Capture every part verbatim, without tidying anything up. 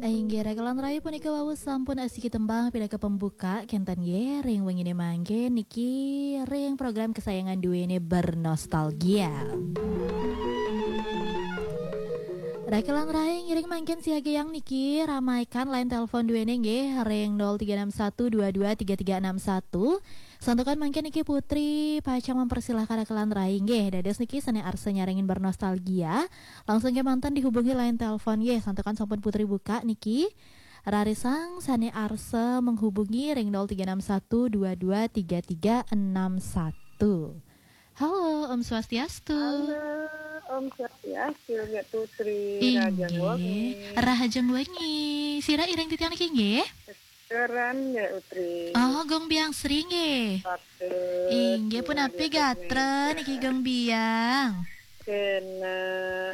Inggih, Rakelan Rai punika wau sampun asiki tembang pinaka pembuka kenten nggih ring wengine mangke niki ring program kesayangan duene Bernostalgia. Rakelan Rai ngiring mangkin siagayang niki ramaikan line telepon duene nggih ring nol tiga enam satu dua dua tiga tiga enam satu. Santukan mangkin niki Putri pacang mempersilahkan Rakelan Rai nggih. Dados niki sane arsa nyarengin bernostalgia. Langsung kemanten dihubungi line telepon nggih, santukan sampun Putri buka niki. Rarisang sane arsa menghubungi ring nol tiga enam satu dua dua tiga tiga enam satu. Halo, Om Swastiastu. Halo, Om Swastiastu, Mbak Putri. Inggih. Rahajeng wengi. Rahajeng wengi. Sira ireng titiang niki nggih? Keran, Mbak Putri. Oh, Gung Biang Sri nggih. Patut. Inggih, punapi gatra niki, Gung Biang? Kena,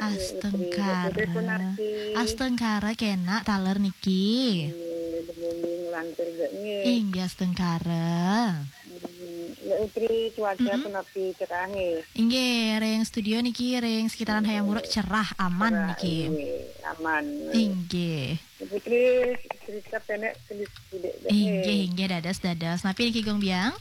Mbak Putri. Astungkara. Mbak Putri punapi? Astungkara kena taler niki. Nggih, dumugi lancar nggih. Inggih, astungkara. Hmm, Mbak Putri, cuaca punapi cekah nggih? Inggih, ring studio niki, ring sekitaran Hayam Wuruk cerah, aman niki. Nggih, aman. Inggih. Putri, cerita pendek sedikit nggih. Inggih, inggih, dados, dados. Napi niki, Gung Biang?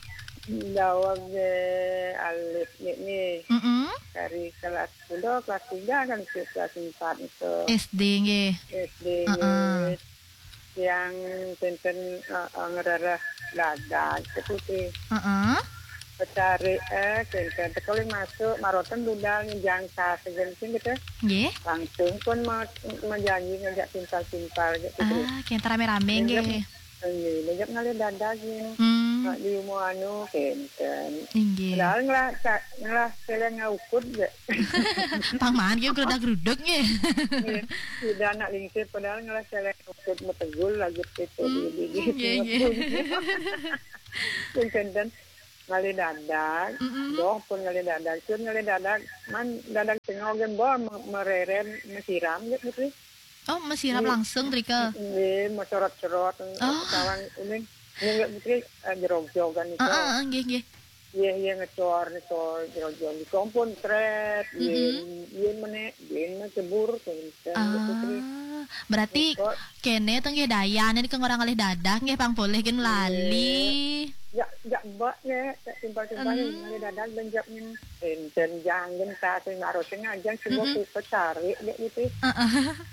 Daweg nggih, alit nggih. Mm-mm. Dari kelas, udah kelas tiga kan, ke kelas empat itu. S D nggih. S D. Heeh. Yang tenten, eh, eh, ngerereh dadag, itu sih. Heeh. Pecari, eh, kenten tekeli masuk, maroten budal ngejang tas, gitu. Nggih. Langsung pun ma-, menjanji ngajak timpal-timpal, gitu. Ah, kenten rame-rame nggih. Nggih, ngajak ngalih dadag, gitu. Hmm. Mak di umur anu, kenten. Inggih. Padahal ngelah, ca-, ngelah seleng ngaukud, ya. Pang maan nggih, gerudak-geruduk nggih. Nggih. Sudah anak lingsir, padahal ngelah seleng ngaukud, metegul lagi, gitu. Hmm, di, di, di, nggih, nggih. Pun kenten. Ngalih dadag, mm-mm, doh pun ngalih dadag, sun ngalih dadag, man dadag tengah gen bo me-, mereren, mesiram je, Putri. Oh, mesiram langsung, Trika? Nggih, meserot-serot, oh, sawang uning, nggih, Putri, eh, jerog-jogan itu. Ah, ah, ah, nggih, nggih. Iya, iya, ngecor, ngecor, jerog-jog. Kompon tret, mm-mm, yen, yen mene, yen cebur, gitu, Putri. Ah, berarti kene to nggih dayane niki ngorang ngalih dadag nggih pang polih gen lali. Ya, ya mbak nggih, ya simpel-simpel ngalih dadag ben jak nyen. Enten janggen ta sing harus ngajang sing ku pecari dek gitu. Heeh.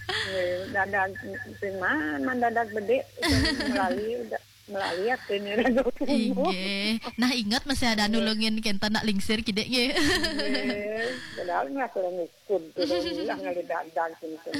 Nggih, dadag sing man, man dadag bedik, sing melali, udah melali atene rada. Inggih. Nah, inget masih ada nulungin kenten nak lingsir kidik nggih. Nggih. Padahal nggak kurang Kun, kun, ulah ngalih dadag, kun, kun.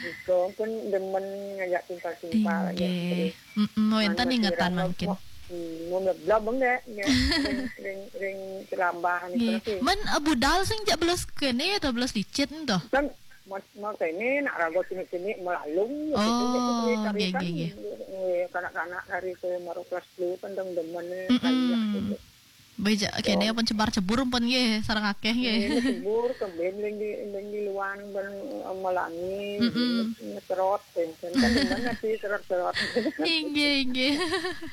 Iko pun demen ngajak timpal-timpal, ya, inggih. Terus. Mm-mm, wenten ingetan mangkin. Mo-, hmm, mau ngeblab enggak, ya. Ring, ring, ring celambah ni, nggih, terus, ya. Men, eh, budal sing jak belas kene atau belas dicit ento? Kan, mau, mau kene, nak raga sini-sini melalung, ya, gitu, gitu, gitu, oh, nggih, nggih, nggih. Nggih, kanak-kanak dari ke maru kelas telu kan dong demen, ya, mm-mm, kayak gitu. Beja, kene pun cebar-cebur pun nggih, sareng akeh nggih. Nggih, cebur, keben ring di, ring di luar, ben, eh, melangi, mm-mm, ngetrot, kan, kan, kan, demen ati serot-serot. Inggih, inggih.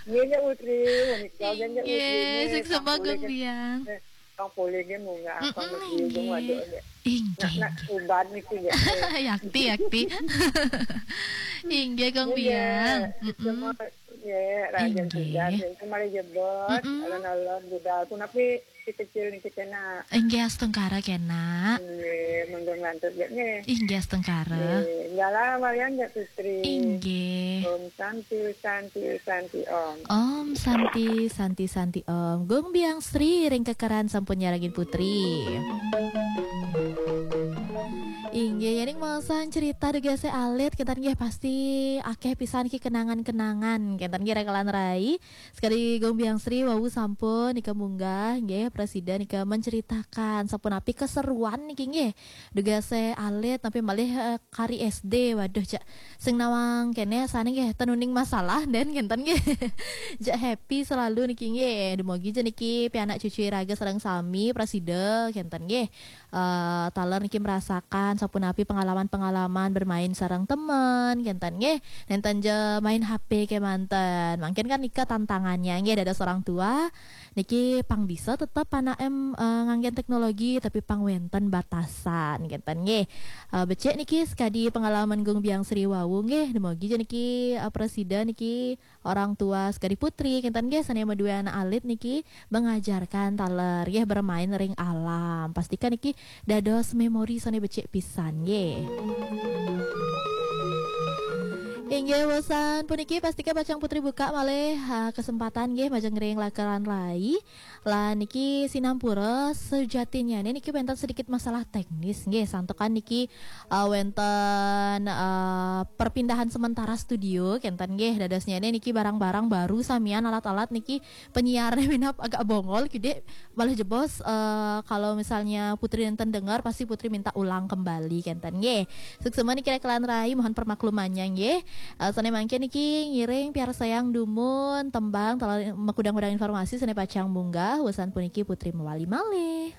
Nggih, nggih, Putri, menika, nggih, nggih, Putri, inggih, nggih, sing sembah sampun, Gung nggih. Biang. Eh, sampun, nggih, munggah, mm-mm, apa, nggih, nggih, waduh, nggih. Inggih, nak, nak, inggih. Ubat niki, nggih. Yakti, yakti. Inggih, Gung Biang. Nggih, mm-mm. Semua Nggih, rahayu, inggih. Sudah, nggih, kembali jebot, mm-mm, alon-alon budal. Punapi si kecil niki kena. Inggih, astungkara kena. Nggih, monggo nglantur, nggih, nggih. Inggih, astungkara. Nggih, dalah walian, nggih, Putri. Inggih. Om Santi, Santi, Santi, Om. Om Santi, Santi, Santi, Om. Gung Biang Sri ring kekeran sampun nyarengin Putri. Inggih, yening maosan cerita dugase alit, kenten nggih pasti akeh pisan ki kenangan-kenangan. Kenten nggih, Rakelan Rai. Sekadi Gung Biang Sri wau sampun nika munggah nggih, prasida nika menceritakan sapunapi keseruan niki nggih. Dugase alit tapi malih, eh, kari S D. Waduh, cak sing nawang kene sane nggih ten uning masalah den kenten nggih. Jak happy selalu niki nggih. Dumugi ja niki pianak cucu iraga sareng sami prasida kenten nggih. Eh, taler niki merasakan ataupun api pengalaman-pengalaman bermain sareng temen, kenten nggih. Nenten ja main H P kemanten. Mangkin kan nika tantangannya nggih, dados orang tua niki pang bisa tetep anak em eh, nganggen teknologi, tapi pang wenten batasan, kenten nggih. Eh, becik niki sekadi pengalaman Gung Biang Sri wau nggih, demogi ja niki eh, presiden niki orang tua sekadi putri, kenten nggih, sane madue anak alit niki mengajarkan taler nggih bermain ring alam. Pastikan niki dados memori sane becik pisan nggih. Inggih, wusan puniki pastika pacang putri buka malih ha, kesempatan nggih majeng ring lakeran rai. Lah niki sinampura sejatinya niki wenten sedikit masalah teknis nggih, santukan niki uh, wenten uh, perpindahan sementara studio, kenten nggih, dadosnya niki barang-barang baru samian, alat-alat niki penyiarnya minap agak bongol kide, malah jebos uh, kalau misalnya putri nenten dengar pasti putri minta ulang kembali, kenten nggih. Suksema niki lakeran rai, mohon permaklumannya nggih. Uh, sane mangkin niki ngiring piarsayang dumun tembang taler makudang-kudang informasi sane pacang munggah, wusan puniki putri mewali malih.